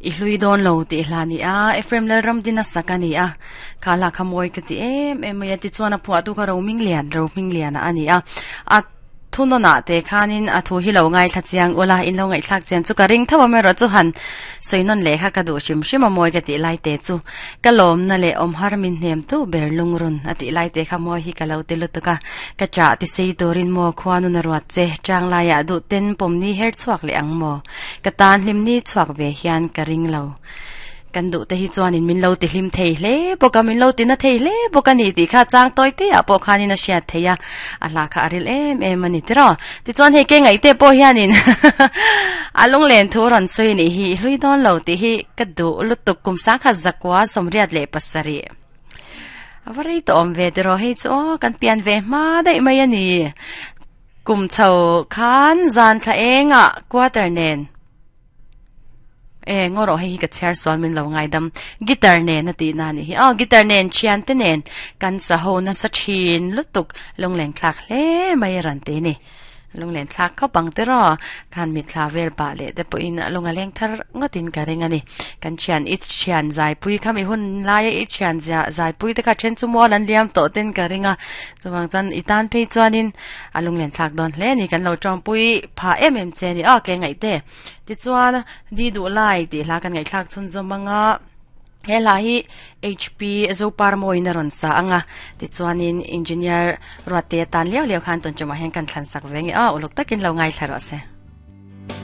I hlui dawn lo tih hla ni a, Ephraim Lalramdina sak a ni a, kha hla kha mawi ka ti em em mai a, tichuan a phuahtu kha Rohminglian, Rohmingliana a ni a, a thunawnah te khanin a thu hi lo ngaithla chiang ula, in lo ngaihthlak chian chu ka ring tho a maherawh chu han sawi nawn leh kha ka duh hrim hrim a mawi ka tih lai te chu ka lawmna leh awm har min hnem tu ber lungrun a tih lai te kha mawi hi ka lo ti lutuk a, ka chah ti sei turin maw khuanun a ruat che, chang laiah duh ten pawmni her chhuak leh ang maw? Ka tan hlim ni chhuak ve hian ka ring lo. Kan duh te hi chuanin min lo ti hlim thei hle bawk a, min lo ti na thei hle bawk a ni tih kha chang tawi te ah pawh khanin a hriat theih a, a hla kha a ril em em a ni tiraw. Tichuan hei ke ngaih te pawh hianin a lunglen thu rawn sawi nih hi i hlui dawn lo tih hi ka duh lutuk kum sangkhat zakua 87. A va rei tawh awm ve tiraw hei chu aw kan pian ve hma daih mai a ni. Kum chho khan zan thla engah quarter nen e ngaw rawh hei hi ka chhiar sual min lo ngaidam guitar nen a tih na nih hi aw guitar nen thian te nen kan sa ho nasa thin lutuk lungleng thlak hle mai a rawn ti a ni lungleng thlak khawp ang te rawh khan mitthla vel pah leh te pawhin lung a leng thar ngawt in ka ring a ni kan thian i thian zaipui kha mi hun laia i thian zia zaipui te kha then chu mual an liam tawh ten ka ring a chuvang chuan i tan phei chuanin A lunglen thlak dawn hle a ni, kan lo tawngpui phah em em che a ni. Aw ke ngaih te. Tichuan, Di Duh Lai tih hla kan ngaihthlak chhunzawm ang a, he hla hi HP Zoparmawiin a rawn sa ang a, tichuanin Engineer Ruatte atan liau liau khan tun tumah hian kan thlansak ve nge. Aw uluk takin lo ngaithla rawh se.